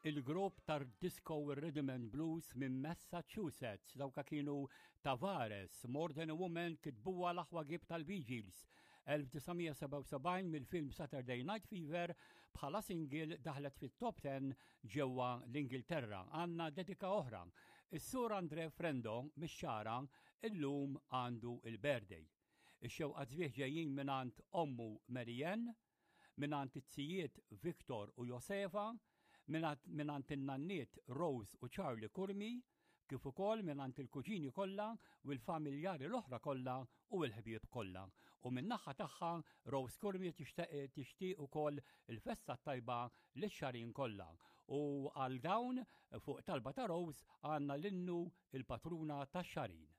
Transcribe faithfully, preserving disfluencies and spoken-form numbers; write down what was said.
Il-grupp tar-disco Rhythm and Blues minn Massachusetts, dawka kienu Tavares, "More Than a Woman", kitbuha l-aħwa Gibb tal-Bee Gees. elf disa' mija sebgħa u sebgħin mill-film Saturday Night Fever bħala single daħlet fit-top ten ġewwa l-Ingilterra. Għandna dedika oħra. Is-Sur Andre Frendo mix-Xagħra illum għandu il-birthday. Ix-xewqat sbieħ ġejjin mingħand ommu Marianne, mingħand it-zijiet Victor u Josefa, mingħand in-nanniet Rose u Charlie Curmi, kif ukoll mingħand il-kuġini kollha u l-familjari l-oħra kollha u l-ħbieb kollha. U min-naħa tagħha Rose Curmi tixtieq ukoll il-festa tajba lix-Xagħrin kollha. U għal dawn, fuq talba ta' Rose, għandna l-innu "Il-Patruna tax-Xagħrin".